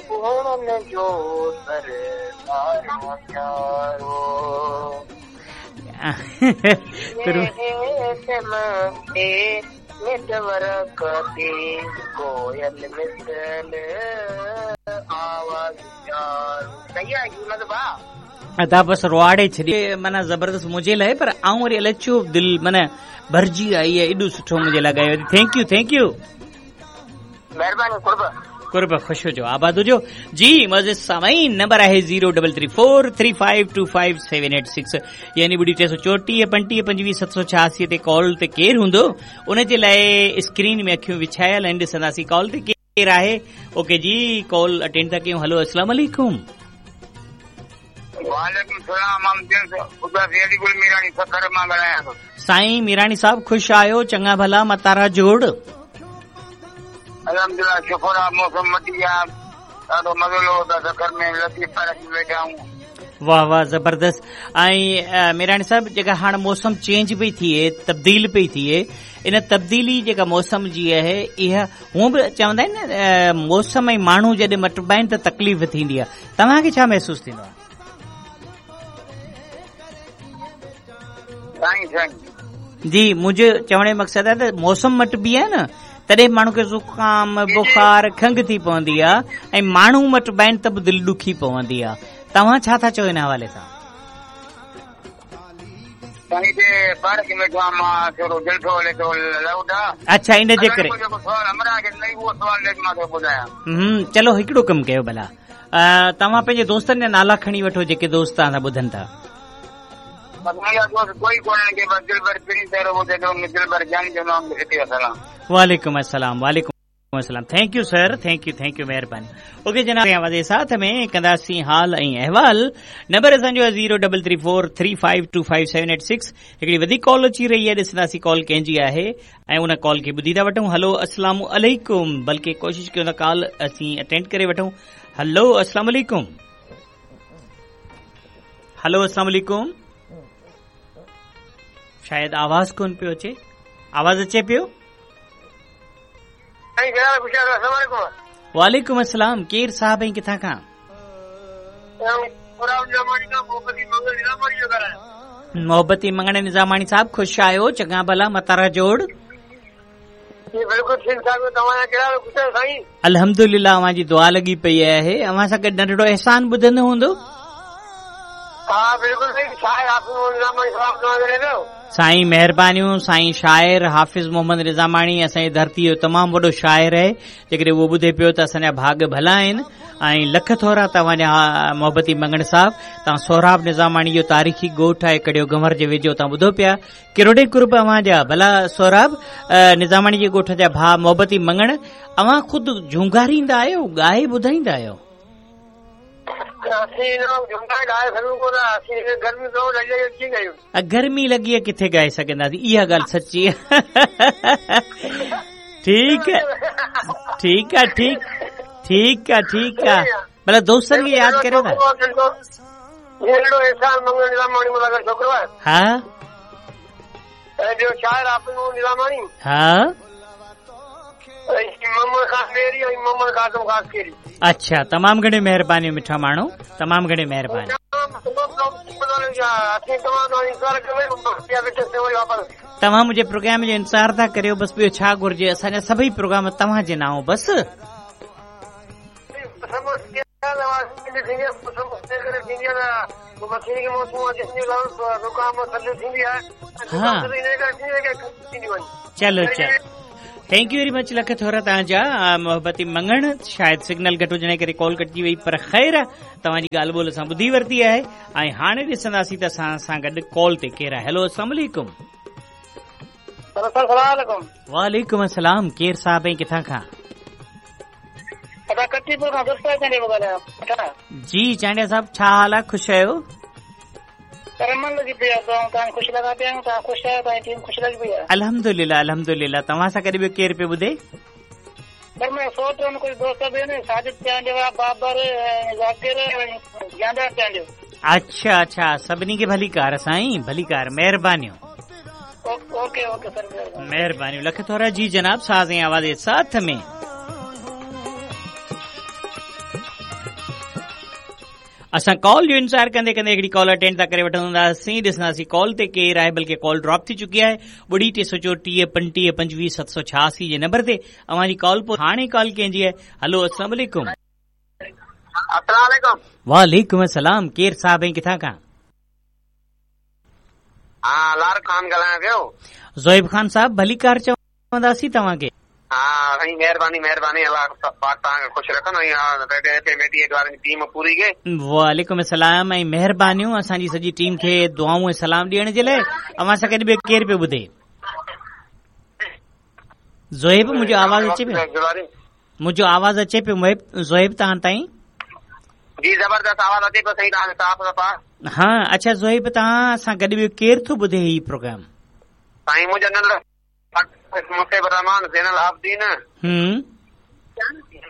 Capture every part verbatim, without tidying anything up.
भुवननि जो सरदार प्यारो। नेटवर्क ते कोयल मिसल आवाज़ प्यारो। सही आहे भाउ। अदा बसि रुआड़े छॾी माना ज़बरदस्त मुंहिंजे लाइ, पर आउं वरी अलाए छो दिलि माना भरिजी आई आहे, एॾो सुठो मुंहिंजे लाइ ॻायो। Thank you, thank you, महिरबानी, कुर्ब कुर्ब, ख़ुशि हुजो, आबाद हुजो। जी मज़े सामाईन, नंबर आहे zero double three four three five two five seven eight six, यानी ॿुड़ी टे सौ चोटीह पंटीह पंजवीह सत सौ छियासी ते कॉल ते केरु हूंदो, उन जे लाइ स्क्रीन में अखियूं विछायल आहिनि, ॾिसंदासीं कॉल ते केरु आहे। ओके जी, कॉल अटेंड था कयूं। हलो, अस्सलाम वालेकुम। वालेकुम सलाम। मीरानी सखर मां ॻाल्हायां थो। साईं मीरानी साहब, ख़ुशि आहियो? चङा भला, मतारा जोड़? अल्हम्दुलिल्लाह, शुक्र आहे, मौसम वधी आहे, ॾाढो मज़ो लॻो था सखर में, लतीफ़ पार्क में वेठा आहियूं। वाह वाह, ज़बरदस्त। ऐं मीरानी साहब, जेका हाणे मौसम चेंज पई थिए, तब्दील पई थिए, इन तब्दीली जेका मौसम जी आहे, इहा हूअं बि चवंदा आहिनि न, मौसम ऐं माण्हू जॾहिं मटिबा आहिनि त तकलीफ़ थींदी आहे। तव्हांखे छा महसूसु थींदो आहे? साईं साईं जी, मुंहिंजो चवण जो मक़सदु आहे त मौसम मटिबी आहे न, तॾहिं माण्हू खे ज़ुकाम, बुखार, खंघ थी पवंदी आहे, ऐं माण्हू मटिबा आहिनि त बि दिलि ॾुखी पवंदी आहे। तव्हां छा था चओ हिन हवाले सां? अच्छा, इन जे करे हम्म, चलो हिकिड़ो कमु कयो भला, तव्हां पंहिंजे दोस्तनि जा नाला खणी वठो जेके दोस्त तव्हां सां ॿुधनि था। वालेकुम अस्सलाम, वालेकुम अस्सलाम। Thank you sir, thank you, thank you, मेहरबानी। ओके जनाब, आवाज़ साथ में कंदासीं हाल ऐं अहवाल। नंबर असांजो zero double three four three five two five seven eight six. हिकिड़ी वधीक कॉल अची रही आहे, ॾिसंदासीं कॉल कंहिंजी आहे ऐं उन कॉल खे ॿुधी था वठूं। हलो, अस्सलाम अलैकुम। बल्कि कोशिशि कयूं था कॉल असीं अटेंड करे वठूं। हलो, अस्सलाम अलैकुम। हलो, अस्सलाम अलैकुम। शायदि आवाज़ कोन पियो अचे, आवाज़ अचे पियो? वालेकुम अस्सलाम। केरु साहब ऐं किथां खां? मोहबती मंगण निज़ामाणी साहब, ख़ुशि आहियो? चङा भला, मतारा जोड़? अल्हम्दुलिल्लाह, अव्हां जी दुआ लॻी पई आहे। अव्हां सां गॾु नंढड़ो एहसान ॿुधंदो हूंदो? साईं महिरबानियूं। साईं शाइर हाफ़िज़ मोहम्मद निज़ामाणी असांजी धरती जो तमामु वॾो शाइर आहे, जेकॾहिं उहो ॿुधे पियो त असांजा भाॻ भला आहिनि। ऐं लख थोरा तव्हांजा मोहबती मंगण साहब। तव्हां सोहराब निज़ामाणी जो तारीख़ी ॻोठु आहे कड़ियो गंवर जे वेझो, तव्हां ॿुधो पिया, किरोड़े कुर्ब अव्हांजा। भला सोहराब निज़ामाणी जे ॻोठ जा भाउ मोहबती मंगण, अव्हां ख़ुदि झूंगारींदा आहियो, ॻाए ॿुधाईंदा आहियो? गर्मी लॻी आहे, किथे ॻाए सघंदासीं? इहा ॻाल्हि सची आहे। ठीकु आहे, ठीकु आहे, ठीकु ठीकु आहे, ठीकु आहे। भला दोस्तनि खे यादि करियो था। हा हा, अच्छा, तमामु घणी महिरबानी मिठा माण्हू, तमामु घणी महिरबानी। तव्हां मुंहिंजे प्रोग्राम जो इंतज़ारु था करियो, बसि ॿियो छा घुरिजे? असांजा सभई प्रोग्राम तव्हांजे नांव बसि। हा, चलो चलो, thank you very much, lakh थोरा तव्हांजा मोहबती मंगण। शायदि सिग्नल घटि हुजण जे करे कॉल कटिजी वई, पर ख़ैर तव्हांजी ॻाल्हि ॿोल असां ॿुधी वरिती आहे। ऐं हाणे ॾिसंदासीं त असां सां गॾु कॉल ते केरु आहे। हलो, अस्सलाम वालेकुम। वालेकुम अस्सलाम। केरु साहब ऐं किथां खां? जी चांडिया साहब, छा हाल आहे? ख़ुशि आहियो? अल्हम्दुलिल्लाह, अल्हम्दुलिल्लाह। तव्हां सां गॾु ॿियो केरु पियो ॿुधे? अच्छा अच्छा, सभिनी खे भलीकार साईं, भलीकार, महिरबानियूं। महिरबानियूं, लख थोरा। जी जनाब, साज़ ऐं आवाज़ जे साथ में। असां कॉल जो इंतज़ार कंदे कंदे हिकिड़ी कॉल अटेंड था करे वठंदासीं, ॾिसंदासीं कॉल ते केरु आहे, बल्कि कॉल ड्रॉप थी चुकी आहे। ॿुड़ी टे सौ चोटीह पंटीह पंजवीह सत सौ छयासी जे नंबर ते अव्हां जी कॉल। पोइ हाणे कॉल कंहिंजी आहे? हलो, अस्सलाम वालेकुम। अस्सलाम वालेकुम। वालेकुम अस्सलाम। केरु साहिब ऐं किथां खां? हा, लार खान ॻाल्हायां पियो। ज़ोएब खान साहिब, भलीकार चवंदासीं तव्हांखे। हा साईं, महिरबानी महिरबानी, अलाह पाक तव्हांखे ख़ुशि रखंदो। ऐं रेडियो एफ एम अठाहठ वारनि जी टीम पूरी खे वालेकुम अस्सलाम ऐं महिरबानियूं असांजी सॼी टीम खे दुआऊं ऐं सलाम ॾियण जे लाइ। अव्हां सां गॾु ॿियो केरु पियो ॿुधे? ज़ोएब, मुंहिंजो आवाज़ अचे पियो? मुंहिंजो आवाज़ अचे पियो ज़ोएब तव्हां ताईं? जी, ज़बरदस्त आवाज़ अचे पियो साईं, तव्हांजो साफ़ सफ़ा। हा, अच्छा ज़ोएब, तव्हां सां गॾु ॿियो केरु थो ॿुधे हीउ प्रोग्राम? साईं, मुंहिंजो नंढो मुसेब रहमान ज़ैनल आबदीन, हम्म,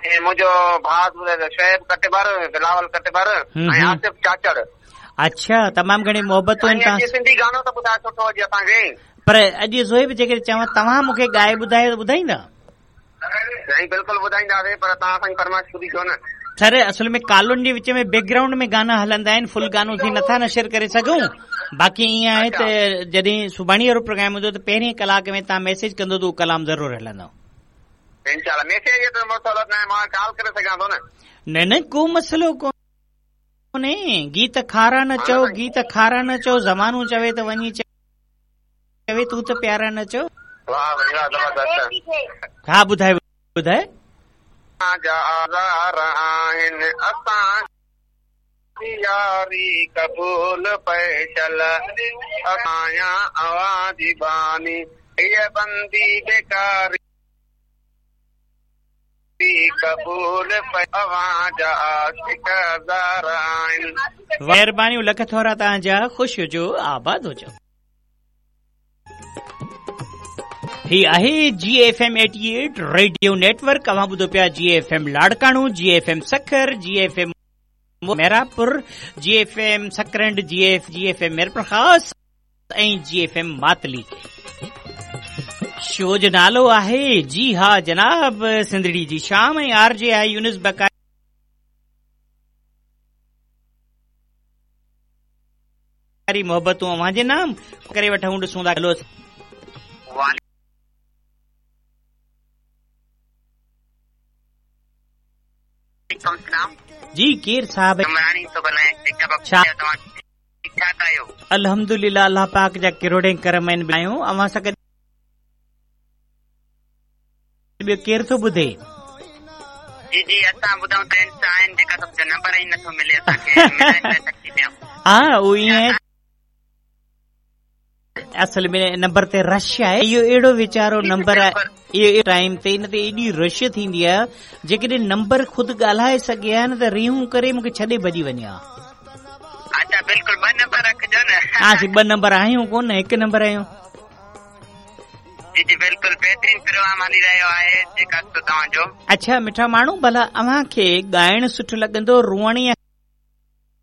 ऐं मुंहिंजो भाउ शोएब कटबर, बिलावल कटबर ऐं आसिफ चाचड़। अच्छा, तमामु घणी मोहबतूं आहिनि तव्हां। सिंधी गानो त ॿुधाए सुठो अॼु असांखे। पर अॼु ज़ोएब, जेकॾहिं चवां तव्हां मूंखे ॻाए ॿुधायो त ॿुधाईंदा? साईं बिल्कुलु ॿुधाईंदासीं, पर तव्हां असांजी फरमाइश पूरी कयो न। सर, असल में कालुनि जे विच में बैकग्राउंड में गाना हलंदा आहिनि, फुल गानो असीं नथा नशर करे सघूं। बाक़ी ईअं आहे त जॾहिं सुभाणे वारो प्रोग्राम हूंदो त पहिरीं कलाक में तव्हां मैसेज कंदो त उहो कलाम ज़रूरु हलंदो। इंशाअल्लाह। मैसेज जो त मसइलो न आहे, मां कॉल करे सघां थो न। न न, को मसइलो कोन्हे। गीत खारा न चओ, गीत खारा न चओ, ज़मानो चवे त वञी चवे, तूं त प्यारा न चओ। वाह भाई वाह, ज़बरदस्त। हा, ॿुधाए ॿुधाए। आज़ार आहिनि असां यारी क़बूल पैशल, आहियां अव्हां जी बानी, हीअ बंदी बेकारी क़बूल अव्हां जा आशिक हज़ार आहिनि। महिरबानियूं, लख थोरा तव्हांजा, ख़ुशि हुजो, आबाद हुजो। ही आहे G F M अठाहठि radio network. अव्हां ॿुधो पिया G F M Larkana, G F M Sukkur, G F M Mehrabpur, G F M Sakrand, G F G F M Mirpur Khas ऐं जी एफ एम मातली। शो जो नालो आहे जी हा जनाब सिंधड़ी जी शाम ऐं आर जे आहे यूनुस बकारी मोहबतूं अव्हां जे नाम करे वठूं, ॾिसूं था। हलो, जी केरु साहिब? अल्हम्दुलिल्लाह, अल्लाह पाक जा किरोड़े करम आहिनि। आहियूं अव्हां सां गॾु ॿियो केरु थो ॿुधे? जी जी, असां ॿुधूं त आहिनि जेका नंबर ई नथो मिले असांखे। हा, उहो ईअं असल में नंबर ते रश आहे। इहो अहिड़ो वीचारो नंबर आहे, इहो टाइम ते इन ते एॾी रश थींदी आहे, जेकॾहिं नंबर ख़ुदि ॻाल्हाए सघे हा न त रीहूं करे मूंखे छॾे भॼी वञे हा। अच्छा, बिल्कुलु ॿ नंबर रखिजो न। हा, असीं ॿ नंबर आहियूं कोन, हिकु नंबर आहियूं। जी जी बिल्कुलु, बहितरीन प्रोग्राम हली रहियो आहे जेका तव्हांजो। अच्छा मिठा माण्हू, भला अव्हांखे ॻाइणु सुठो लॻंदो, रोअण या